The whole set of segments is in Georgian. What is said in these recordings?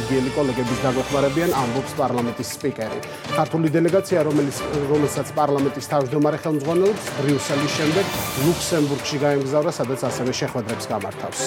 ბელგიელი კოლეგების დაგვეხმარებიან, ამბობს პარლამენტის სპიკერი. ქართული დელეგაცია, რომელსაც პარლამენტის თავმჯდომარე ხელმძღვანელობს, ბრიუსელის შემდეგ ლუქსემბურგში გაემგზავრა, სადაც ასევე შეხვედრებს გამართავს.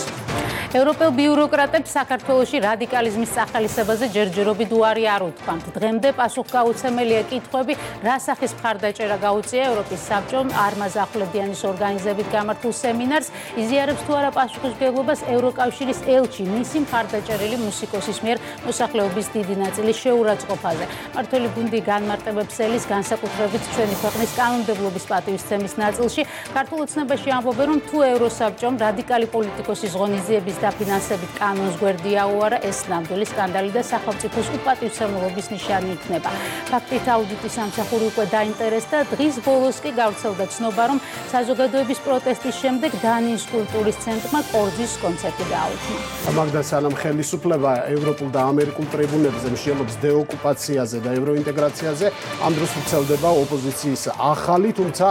ევროპელ ბიუროკრატებს საქართველოში რადიკალიზმის სახალისებაზე ჯერჯერობით უარი არ უთქვამთ. დღემდე პასუხგაუცემელია კითხვები, რა სახის მხარდაჭერა გაუწია ევროპის საბჭომ არმაზ ახვლედიანის ორგანიზებით გამართულ სემინარს, იზიარებს თუ არა პასუხისმგებლობას ევროკავშირის ელჩი, მისი მხარდაჭერილი მუსიკოსის მიერ მოსახლეობის დიდი ნაწილის შეურაცხყოფაზე. მმართველი გუნდი განმარტებებს ელის განსაკუთრებით ჩვენი ქვეყნის კანონმდებლობის პატივისცემის ნაწილში. ქართულ ოცნებაში ამბობენ, რომ თუ ევროსაბჭომ რადიკალი პოლიტიკოსის ღონისძიების დაფინანსებით კანონს გვერდი აუარა, ეს ნამდვილი სკანდალი და სახელმწიფოს უპატივცემულობის ნიშანი იქნება. ფაქტით აუდიტის სამსახური უკვე დაინტერესდა, დღის ბოლოს კი გავრცელდა ცნობა, რომ საზოგადოების პროტესტის შემდეგ დანიის კულტურის ცენტრმა კორძის კონცერტი გააუქმა. მაგდა სანამ ხელისუფლება ევროპულ და ამერიკულ ტრიბუნებზე მსჯელობს დეოკუპაციაზე და ევროინტეგრაციაზე, ამ დროს ვრცელდება ოპოზიციის ახალი, თუმცა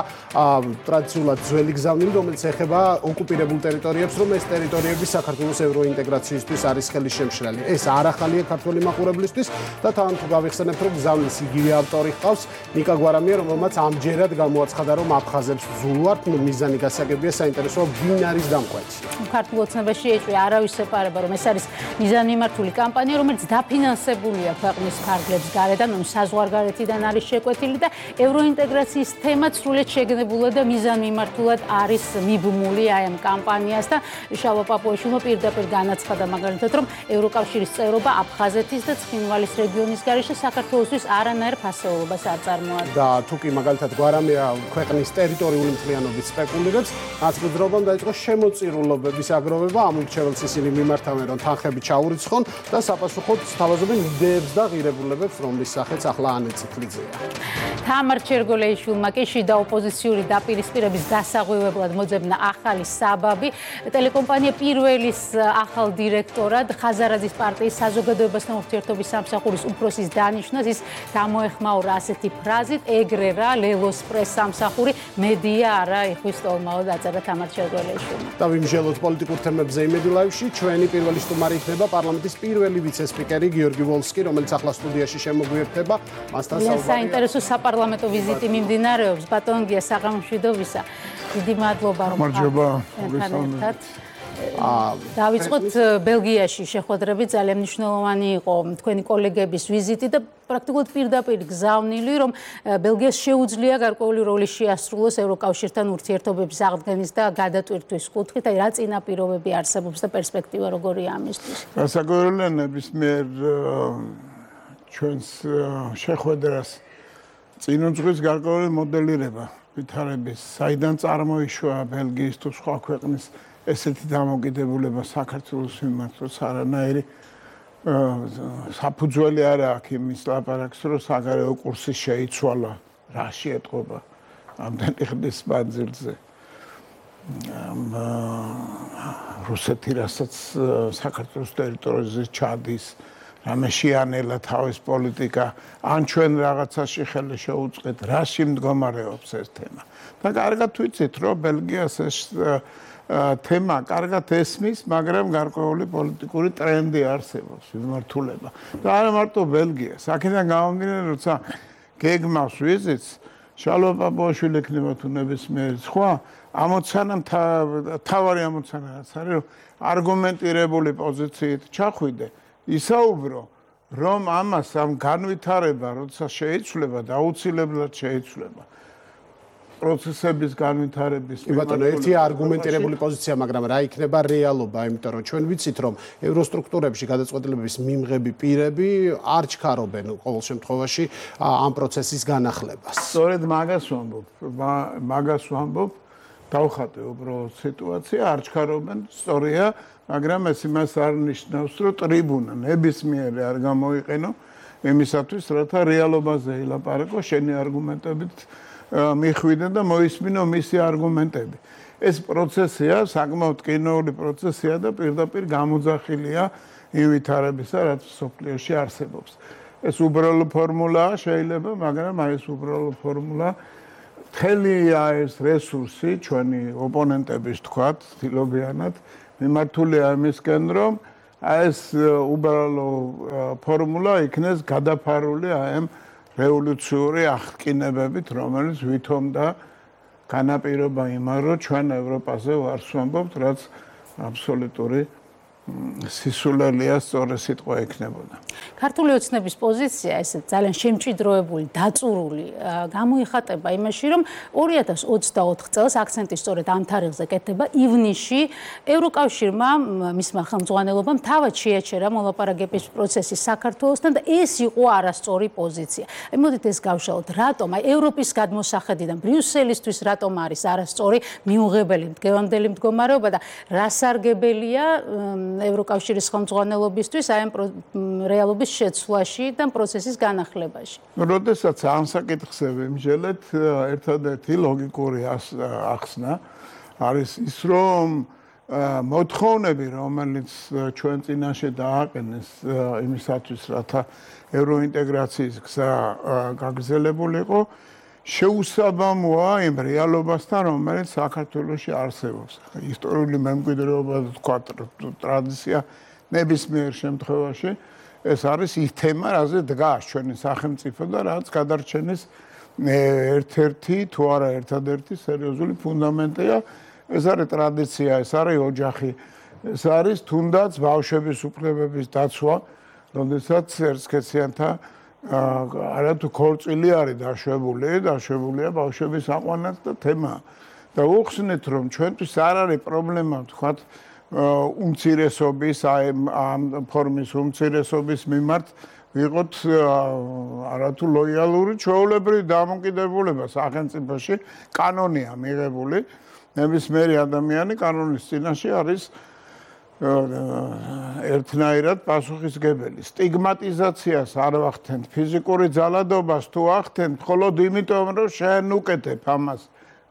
ტრადიციულად ძველი გზავნილი, რომელიც ეხება ოკუპირებულ ტერიტორიებს, რომ ეს ტერიტორიები საქართველოს ევროინტეგრაციისთვის არის ხელისშემშლელი. ეს არ ახალია ქართველი მაყურებლისთვის და თან თუ გავიხსენებთ, რომ გზავნის იგივე ავტორი ჰყავს, ნიკა გვარამია, რომელმაც ამჯერად გამოაცხადა, რომ აფხაზებს ზულვართ, მიზანი გასაგებია, საინტერესოა ვინ არის დამკვეთი. ქართულ ოცნებაში ეჭვი არავის ეპარება, რომ ეს არის მიზანმიმართული კამპანია, რომელიც დაფინანსებულია ქვეყნის ფარგლებს გარედან, საზღვარგარეთიდან არის შეკვეთილი და ევროინტეგრაციის თემაც სრულიად შეგნებულად და მიზანმიმართულად არის მიბმული აი ამ კამპანიას და შალვა პაპუაშვილმა პირდაპირ განაცხადა მაგალითად, რომ ევროკავშირის წევრობა აფხაზეთის და ცხინვალის რეგიონის გარეშე საქართველოსთვის არანაირ ფასეულობას არ წარმოადგენს. და თუ კი მაგალითად გვარამია ქვეყნის ტერიტორიული მთლიანობით სპეკულირებს, ნაწილობრივ დაიწყო შემოწირულობების აგროვება, ამ მრჩეველს ისინი მიმართავენ, რომ თანხები ჩაურიცხონ და საპასუხოდ სთავაზობენ იდეებს და ღირებულებებს, რომლის სახეც ახლა ანე წითლიძეა. თამარ ჩერგოლეიშვილმა კი შიდა ოპოზიციური დაპირისპირების დასაღვივებლად მოძებნა ახალი საბაბი. ტელეკომპანია პირველის ახალ დირექტორად ხაზარაძის პარტიის საზოგადოებასთან ურთიერთობის სამსახურის უფროსის დანიშვნას ის გამოეხმაურა ასეთი ფრაზით: ეგრე რა ლელოს პრეს სამსახური მედია არა იხვის ტოლმაო დაწერა თამარ ჩერგოლეიშვილმა. და ვიმსჯელოთ პოლიტიკურ თემებზე იმედი ლაივში, ჩვენი პირველი სტუმარი იქნება პარლამენტის პირველი ვიცე-სპიკერი გიორგი ვოლსკი, რომელიც ახლა სტუდიაში შემოგვიერთდება. მასთან საუბარი. საინტერესო საპარლამენტო ვიზიტი მიმდინარეობს ბატონ გია საღამოშვიდობისა. დიდი მადლობა რომ ხართ. დავიწყოთ ბელგიაში შეხვედრები, ძალიან მნიშვნელოვანი იყო თქვენი კოლეგების ვიზიტი და პრაქტიკულად პირდაპირ გზავნილი, რომ ბელგიას შეუძლია გარკვეული როლი შეასრულოს ევროკავშირთან ურთიერთობების აღდგენის და გადატვირთვის კუთხით, აი რა წინაპირობები არსებობს და პერსპექტივა როგორია ამისთვის. გასაკვირველია ნებისმიერ ჩვენს შეხვედრას წინ უძღვის გარკვეული მოდელირება ვითარების, საიდან წარმოიშვა ბელგიის თუ სხვა ქვეყნის ესეთი დამოკიდებულება საქართველოს მიმართ, რომ არანაირი საფუძველი არ აქვს იმის ლაპარაკს, რომ საგარეო კურსი შეიცვალა, რა შეეტყობა ამდენი ხნის მანძილზე. რუსეთი რასაც საქართველოს ტერიტორიაზე ჩადის, რამე შეანელა თავის პოლიტიკა, ან ჩვენ რაღაცაში ხელი შეუწყეთ, რაში მდგომარეობს ეს თემა. და კარგად ვიცით, რომ ბელგიას ეს თემა კარგად ესმის, მაგრამ გარკვეული პოლიტიკური ტრენდი არსებობს, მიმართულება. და არა მარტო ბელგიას, აქედან გამომდინარე, როცა გეგმავს ვიზიტს, შალვა პაპუაშვილი ექნება თუ ნებისმიერი სხვა, ამოცანა თავარი ამოცანა რაც არის, რომ არგუმენტირებული პოზიციით ჩახვიდე, ისაუბრო, რომ ამას ამ განვითარება, როცა შეიცვლება და აუცილებლად შეიცვლება. პროცესების განვითარების ბატონო, ერთი არგუმენტირებული პოზიცია, მაგრამ რა იქნება რეალობა, იმიტომ რომ ჩვენ ვიცით, რომ ევროსტრუქტურებში გადაწყვეტილებების მიმღები პირები არ ჩქარობენ ყოველ შემთხვევაში ამ პროცესის განახლებას. სწორედ მაგას ვამბობ, დავხატე უბრალოდ სიტუაცია, არ ჩქარობენ, სწორია, მაგრამ ეს იმას არ ნიშნავს, რომ ტრიბუნა ნებისმიერი არ გამოიყენო იმისათვის, რათა რეალობაზე ილაპარაკო, შენი არგუმენტებით მიხვიდე და მოისმინო მისი არგუმენტები. ეს პროცესია, საკმაოდ კინოური პროცესია და პირდაპირ გამოძახილია იმ ვითარებისა, რაც სოფლიოში არსებობს. ეს უბრალო ფორმულაა შეიძლება, მაგრამ აი ეს უბრალო ფორმულა თელია ეს რესურსი ჩვენი ოპონენტების თქვათ, ცდილობიანად მიმართულია იმისკენ, რომ ეს უბრალო ფორმულა იქნეს გადაფარული ამ რევოლუციური აღკინებებით, რომელიც ვითომ და განაპირობა იმან, რომ ჩვენ ევროპაზე ვარს ვამბობთ, რაც აბსოლუტური სისულელია სწორი სიტყვა ექნებოდა. ქართული ოცნების პოზიცია ესე ძალიან შემჭიდროებული, დაწურული გამოიხატება იმაში, რომ 2024 წელს აქცენტი სწორედ ამ თარიღზე კეთდება ივნისში ევროკავშირმა მისმა ხელმძღვანელობამ თავად შეაჩერა მოლაპარაკების პროცესი საქართველოსთან და ეს იყო არასწორი პოზიცია. მოდით ეს გავშალოთ, რატომ აი ევროპის გადმოსახედიდან ბრიუსელისთვის რატომ არის არასწორი მიუღებელი დღევანდელი მდგომარეობა და რა სარგებელია ევროკავშირის ხელმძღვანელობისთვის აი ამ რეალობის შეცვლაში და პროცესის განახლებაში. როდესაც ამ საკითხზე ვიმსჯელეთ, ერთადერთი ლოგიკური ახსნა არის ის, რომ მოთხოვნები, რომელიც ჩვენ წინაშე დააყენეს იმისათვის, რათა ევროინტეგრაციის გზა გაგრძელებულიყო, შეუსაბამოა იმ რეალობასთან, რომელიც საქართველოში არსებობს. ისტორიული მემკვიდრეობა და თქვა ტრადიცია ნებისმიერ შემთხვევაში ეს არის ის თემა, რაზე დგას ჩვენი სახელმწიფო და რაც გადარჩენის ერთ-ერთი თუ არა ერთადერთი სერიოზული ფუნდამენტია. ეს არის ტრადიცია, ეს არის ოჯახი, ეს არის თუნდაც ბავშვების უფლებების დაცვა, როდესაც ერთსქესიანთა არათუ ქორწილი არის დაშვებულია ბავშვების აყვანაც და თემა. და უხსნით, რომ ჩვენთვის არ არის პრობლემა, თქვათ, უმცირესობის, ამ ფორმის უმცირესობის მიმართ ვიყოთ არათუ ლოიალური ჩვეულებრივი დამოკიდებულება სახელმწიფოში, კანონია მიღებული, ნებისმიერი ადამიანი კანონის წინაშე არის ერთნაირად პასუხისგებელი. სტიგმატიზაციას არ ვახდენთ, ფიზიკური ძალადობას თუ ახდენთ, მხოლოდ იმიტომ, რომ შენ უკეთებ ამას.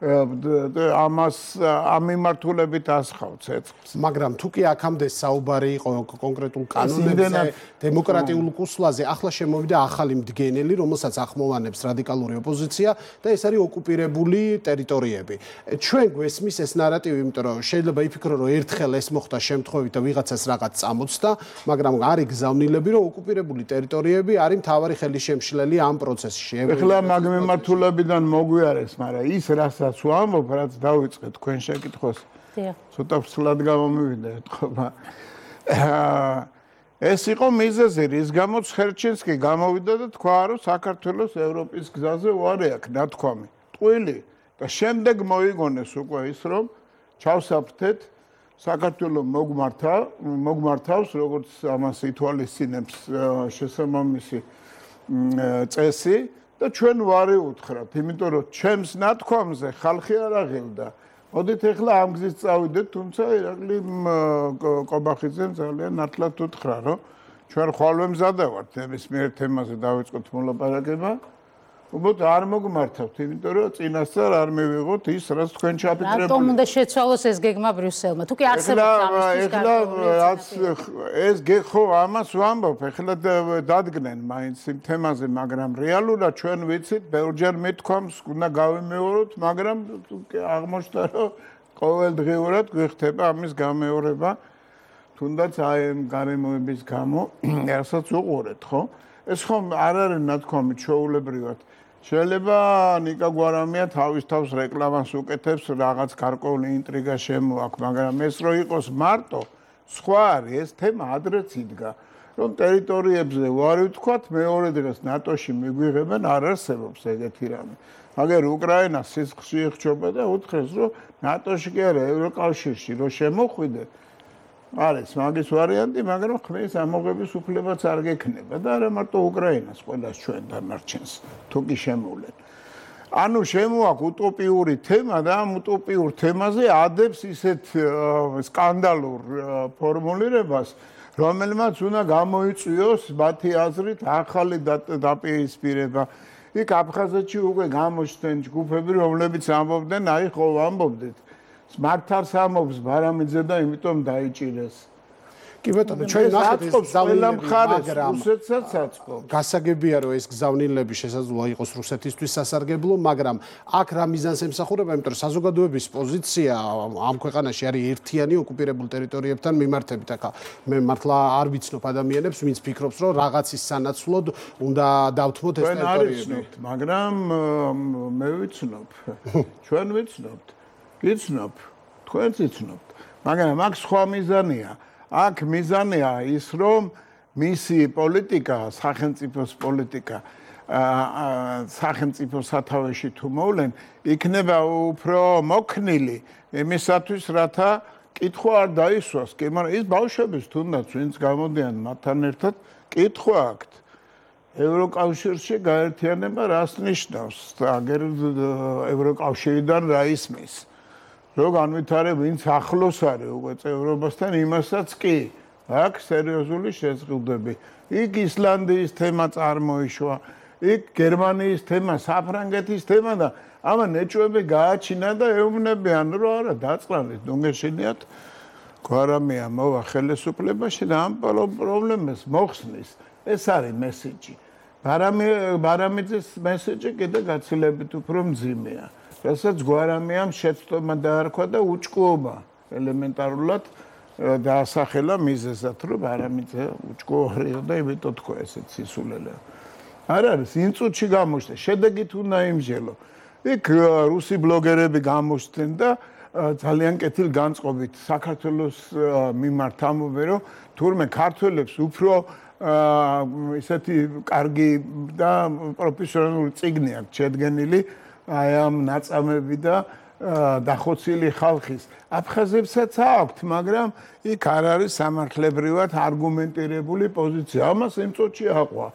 ამ მიმართულებით ასხავ ცეცხლს. მაგრამ თუ კი აქამდე საუბარი იყო კონკრეტულ კანონებზე, დემოკრატიულ კურსლაზე, ახლა შემოვიდა ახალი მდგენელი, რომელსაც ახმოვანებს რადიკალური ოპოზიცია და ეს არის ოკუპირებული ტერიტორიები. ჩვენ გვესმის ეს ნარატივი, იმიტომ რომ შეიძლება იფიქრო, რომ ერთხელ ეს მოხდა შემთხვევით და ვიღაცას რაღაც წამოწდა, მაგრამ არის გზავნილები, რომ ოკუპირებული ტერიტორიები არის მთავარი ხელისშემშლელი ამ პროცესში. ეხლა მაგ მიმართულებიდან მოგვიარეს, მაგრამ ის რასაც ვამბობ, რაც დავიწყეთ თქვენ შეკითხვას. ცოტა ვცლად გამომივიდა ეთქობა. ეს იყო მიზეზი, რის გამოც ხერჩინსკი გამოვიდა და თქვა, რომ საქართველოს ევროპის გზაზე უარი აქვს ნათქვამი. ტყვილი და შემდეგ მოიგონეს უკვე ის, რომ ჩავსაფრთეთ საქართველოს მოგმართავს, როგორც ამას ითვალისწინებს შესაბამისი წესი. და ჩვენ ვარი უთხრათ, იმიტომ რომ ჩემს ნათქვამზე ხალხი არ აღელდა. მოდით ახლა ამ გზით წავიდეთ, თუმცა ირაკლი კობახიძემ ძალიან ნათლად უთხრა, რომ ჩვენ ხვალვე მზადა ვართ ნებისმიერ თემაზე დავიწყოთ მოლაპარაკება. უბრალოდ არ მოგმართავთ, იმიტომ რომ წინასწარ არ მივიღოთ ის, რაც თქვენ ჩაფიქრებული. რატომ უნდა შეცვალოს ეს გეგმა ბრიუსელმა? თუ კი არსებობს ამისთვის ეს ხო ამას ვამბობ, ეხლა დადგნენ მაინც იმ თემაზე, მაგრამ რეალურად ჩვენ ვიცით, ბევრჯერ მithქვამს, უნდა გავიმეოროთ, მაგრამ აღმოჩნდა, რომ ყოველდღიურად გვიხდება ამის გამეორება, თუნდაც აი ამ გარემოების გამო, რასაც უყურეთ, ხო? ეს ხომ არ არის ნათქვამი ჩვეულებრივად. შეიძლება ნიკა გვარამია თავის თავს რეკლამას უკეთებს, რაღაც გარკვეული ინტრიგა შემოაქვს, მაგრამ ეს რო იყოს მარტო, სხვა არის, ეს თემა ადრეც იდგა, რომ ტერიტორიებზე ვარი ვთქვათ, მეორე დღეს ნატოში მიგვიღებენ, არ არსებობს ეგეთი რამე. მაგერ უკრაინას სისხლში იხჩობა და უთხრეს, რომ ნატოში კი არა, ევროკავშირში რო შემოხვიდე, არის მაგის ვარიანტი, მაგრამ ხმის ამოღების უფლებაც არ გექნება და არა მარტო უკრაინას, ყველას ჩვენ დანარჩენს, თუ კი შემოვლენ. ანუ შემოაქვს უტოპიური თემა და ამ უტოპიურ თემაზე ადებს ისეთ სკანდალურ ფორმულირებას, რომელმაც უნდა გამოიწვიოს მათი აზრით ახალი დაპირისპირება. იქ აფხაზეთში უკვე გამოჩნდნენ ჯგუფები, რომლებიც ამბობდნენ, აი ხო ამბობდით. მართავს ამობს ბარამიძე და იმიტომ დაიჭირეს. კი ბატონო, ჩვენ ნახეთ ეს გზავნილები, მაგრამ რუსეთსაც აწყობს. გასაგებია რომ ეს გზავნილები შესაძლოა იყოს რუსეთისთვის სასარგებლო, მაგრამ აქ რა მიზანს ემსახურება, იმიტომ რომ საზოგადოების პოზიცია ამ ქვეყანაში არის ერთიანი ოკუპირებულ ტერიტორიებთან მიმართებით. ახლა მე მართლა არ ვიცნობ ადამიანებს, ვინც ფიქრობს, რომ რაღაცის სანაცვლოდ უნდა დავთმოთ ეს ტერიტორიები. მაგრამ მე ვიცნობ. ჩვენ ვიცნობთ. გიცნობ. თქვენც იცნობთ. მაგრამ აქ სხვა მიზანია. აქ მიზანია ის, რომ მისი პოლიტიკა, სახელმწიფოს პოლიტიკა სახელმწიფო სათავეში თუ მოვლენ, იქნება უფრო მოქნილი იმისათვის, რათა კითხვა არ დაისვას. კი, მაგრამ ის ბავშვების თუნდაც ვინც გამოდიან მათთან ერთად, კითხვა აქვთ. ევროკავშირში გაერთიანება რას ნიშნავს? აგერ ევროკავშირიდან რა ისმის? რო განვითარებ ვინც ახლოს არის უკვე წევრობასთან, იმასაც კი აქვს სერიოზული შეზღუდვები. იქ ისლანდიის თემა წარმოიშვა, იქ გერმანიის თემა, საფრანგეთის თემა და ამა ნეჭვები გააჩინა და ეუბნებიან, რომ არა დაწყნარით, ნუგეშინიათ გვარამია მოვა ხელისუფლებაში და ამ პრობლემას მოხსნის. ეს არის მესიჯი. ბარამიძის მესიჯი კიდე გაცილებით უფრო მძიმეა. რასაც გვარამიამ შეცდომა დაარქვა და უჭკუობა ელემენტარულად დაასახელა მიზეზად, რომ ბარამიძე უჭკუარია და იმიტომ თქვა ესეც სისულელე. არ არის ინსტიტუტში გამოჩნდა, შედეგით უნდა იმჟელო. იქ რუსი ბლოგერები გამოჩნდნენ და ძალიან კეთილ განწყობით საქართველოს მიმართ ამბობენ, რომ თურმე ქართველებს უფრო ისეთი კარგი და პროფესიონალური წიგნი აქვს შედგენილი აი ამ ნაწამები და დახოცილი ხალხის. აფხაზებსაც აქვთ, მაგრამ იქ არ არის სამართლებრივად არგუმენტირებული პოზიცია. ამას იმ წუთში აყვა.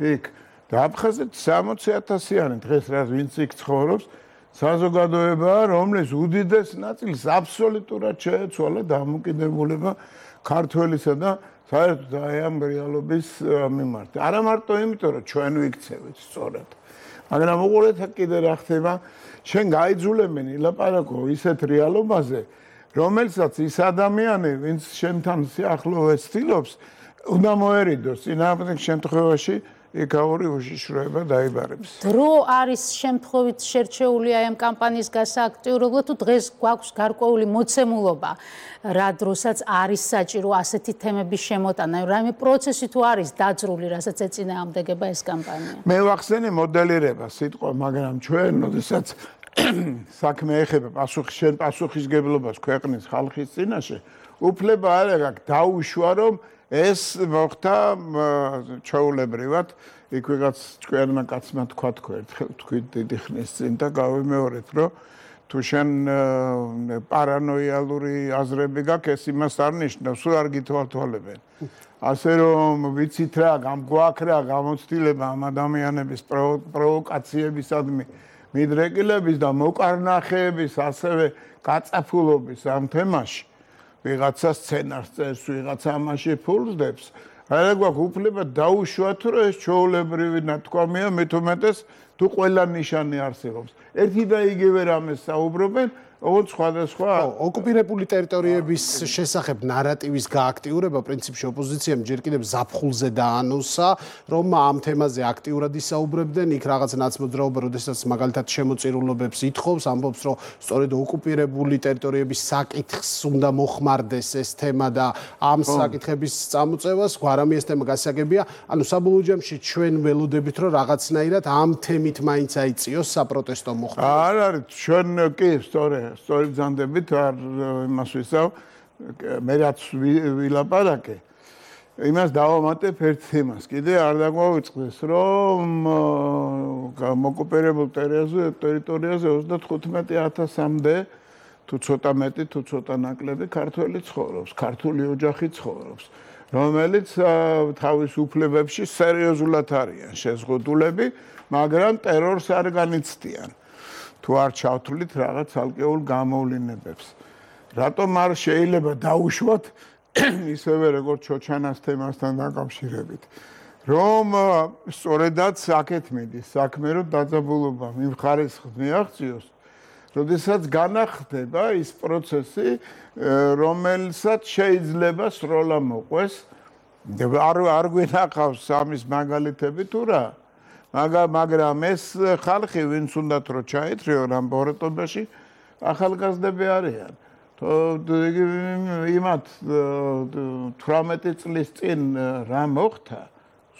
იქ და აფხაზეთ 60,000-იანი დღეს რა ვინც იქ ცხოვრობს, საზოგადოებაა, რომლის უდიდეს ნაწილს აბსოლუტურად შეეცვალა დამოკიდებულება ქართველისა და საერთოდ აი ამ რეალობის მიმართ. არა მარტო იმიტომ, რომ ჩვენ ვიქცევით სწორად. მაგრამ უყურეთ კიდე რა ხდება, შენ გაიძულებენ ილაპარაკო ისეთ რეალობაზე, რომელსაც ის ადამიანი, ვინც შენთან სიახლოვეს ცდილობს, უნდა მოერიდოს. წინააღმდეგ შემთხვევაში ეკაური უშიშროება დაიბარებს. დრო არის შემთხვევით შერჩეული აი ამ კამპანიის გასააქტიურებლად თუ დღეს გვაქვს გარკვეული მოცემულობა, რა დროსაც არის საჭირო ასეთი თემების შემოტანა, რაიმე პროცესი თუ არის დაძრული, რასაც ეწინააღმდეგება ეს კამპანია. მე ვახსენე მოდელირება სიტყვა, მაგრამ ჩვენ, როდესაც საქმე ეხება პასუხისგებლობას ქვეყნის ხალხის წინაშე, უფლება არ აქვს დაუშვა, რომ ეს მოხდა ჩაულებრივად, იქ ვიღაც ჭკვიანმა კაცმა თქვა ერთხელ თქვით დიდი ხნის წინ და გავიმეორეთ, რომ თუ შენ პარანოიალური აზრები გაქვს, ეს იმას არ ნიშნავს, სულ არ გითვალთვალებენ. ასე რომ ვიცით რა, გვაქვს რა გამოცდილება ამ ადამიანების პროვოკაციებისადმი მიდრეკილების და მოკარნახეების, ასევე გაწაფულობის ამ თემაში. ვიღაცა სცენარს წერს, ვიღაცა ამაში ფულს. არა გვაქვს უფლება დაუშვათ, რომ ეს ჩვეულებრივი ნათქვამია, მით უმეტეს თუ ყველა ნიშანი არსებობს. ერთი და იგივე რამეს საუბრობენ, ოღონდ სხვადასხვა ოკუპირებული ტერიტორიების შესახებ ნარატივის გააქტიურება პრინციპში ოპოზიციამ ჯერ კიდევ ზაფხულზე დაანონსა, რომ ამ თემაზე აქტიურად ისაუბრებდნენ, იქ რაღაც ნაცმოძრაობა, როდესაც მაგალითად შემოწირულობებს ითხოვს, ამბობს, რომ სწორედ ოკუპირებული ტერიტორიების საკითხს უნდა მოხმარდეს ეს თემა და ამ საკითხების წამოწევას გვარამი ეს თემა გასაგებია. ანუ საბოლოო ჯამში ჩვენ ველოდებით, რომ რაღაცნაირად ამ თემით მაინც აიწიოს საპროტესტო მოხდა. არ არის, ჩვენ კი სწორედ ბრძანდებით არ იმას ვისაუბრ, მე რაც ვილაპარაკე, იმას დავამატებ ერთ თემას. კიდე არ დაგვაუწყდეს, რომ მოკუპირებულ ტერიტორიაზე 35,000-მდე თუ ცოტა მეტი, თუ ცოტა ნაკლები ქართველი ცხოვრობს, ქართული ოჯახი ცხოვრობს, რომელიც თავის უფლებებში სერიოზულად არიან შეზღუდულები, მაგრამ ტერორს არ განიცდიან. თუ არ ჩავთვლით რაღაც ალკეულ გამოვლინებებს. რატომ არ შეიძლება დაუშვათ ისევე როგორც ჩოჩანას თემასთან დაკავშირებით, რომ სწორედაც აქეთ მიდის საქმე, რომ დაძაბულობა იმ ხარისხს მიაღწიოს, როდესაც განახდება ის პროცესი, რომელსაც შეიძლება სროლა მოყვეს. არ გვინახავს ამის მაგალითები თუ რა? მაგრამ ეს ხალხი, ვინც უნდათ რომ ჩაითრიონ ამ ბოროტობაში, ახალგაზრდები არიან. იმათ 18 წლის წინ რა მოხდა?